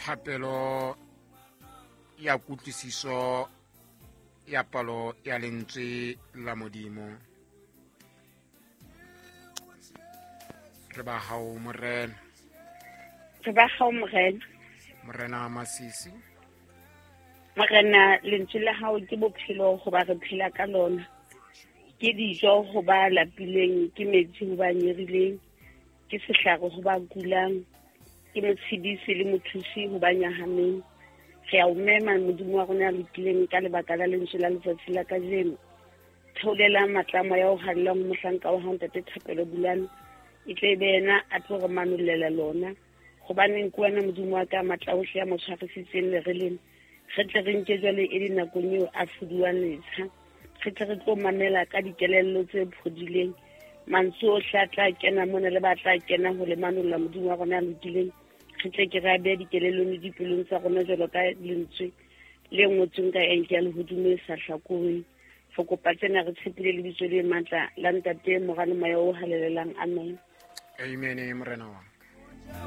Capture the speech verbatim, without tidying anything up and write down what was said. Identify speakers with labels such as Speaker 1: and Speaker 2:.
Speaker 1: Thapelo ya kutlwisiso ya palo ya lentswe la Modimo. Re ba hao Morena.
Speaker 2: Re ba hao Morena.
Speaker 1: Morena Masisi.
Speaker 2: Morena, lentswe la hao ke bophelo hoba re phela ka lona. Ke dijo ho ba lapileng, ke metsi ho ba nyerileng, ke sehlare ho ba kulang, ke motshedisi le mothusi ho ba nyahameng. Re a o mema Modimo wa rona ya lokileng ka lebaka la lentswe la letsatsi la kajeno. Theolela matla a moya o halalelang ho mohlanka wa hao Ntate Thapelo Bulane, e tle be yena a tlo re manollela lona. Hobaneng ke wena Modimo wa ka matla ohle a mo tshwarisitseng lere lena. Re tle re nke jwale e le nakong eo a fuduwang letsha. Re tle re tlo mamela ka dikelello tse phodileng. Mantswe ohle a tla kena mona le ba tla kena ho le manolla Modimo wa rona a lokileng. Re tle ke re a behe dikelellong le dipelong tsa rona jwalo ka lentswe le ngotsweng ka enke ya lehodimo e sa hlakoheng. Re kopa tsena re tshepile lebitso le matla la Ntate, Mora le Moya o Halalelang. Amen.
Speaker 1: Amen, Morena wa.